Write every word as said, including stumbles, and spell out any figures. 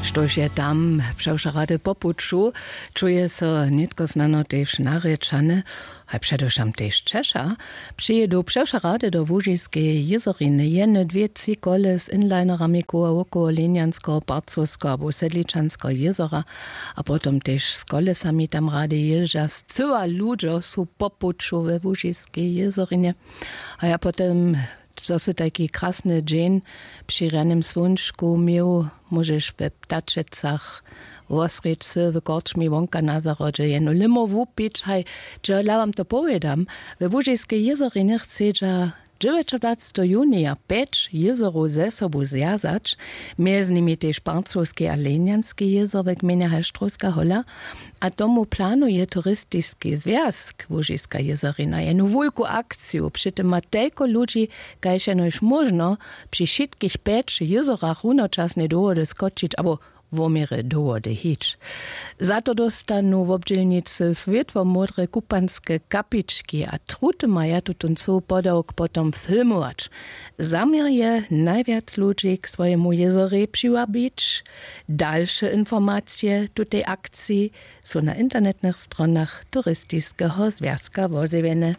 Štož je tam přewšo rady po puću, čuje so nětko snano tež narěčane, haj předewšam tež češa. Přijědu přewšo rady do łužiskeje jězoriny, jeny dwě tři kole z inlinerami koła wokoło lenjanskeho parcowskeho abo sedličanskeho jězora, a potom tež z kolesami tam rady jězdźa scyła ludźo su po puću we łužiskej jězorinje. A ja potom, zo sy tajki krasny dźeń při rjanym słónčku měł, móžeš we ptačecach wosrědcy w korčmi wonka na zahrodźe jenu limo wupić. Haj, dźe dla wam to powědam, we łužiskej jězorinje chcedźa dźewjećadwaceteho junija pjeć jězorow ze sobu zwjazać, mjez nimi tež parcowski a lenjanski jězor w gmejnje halštrowska hola. A tomu planuje turistiski zwjazk łužiska jězorina jenu wulku akciju, při tym ma telko ludźi kaž jenož móžno při wšitkich pjeć jězorach runočasnje dowody skočić abo wo měrje dowody hić. Za to dóstanu wobdźělnicy swětłomódre kupanske kapički a truty maja tutón cył podawk potom filmować. Zaměr je najwjac ludźi k swojemu jězorej přiwabić. Dalše informacije w tutej akciji su na internetnych stronach turistiskeho zwjazka wozjewjene.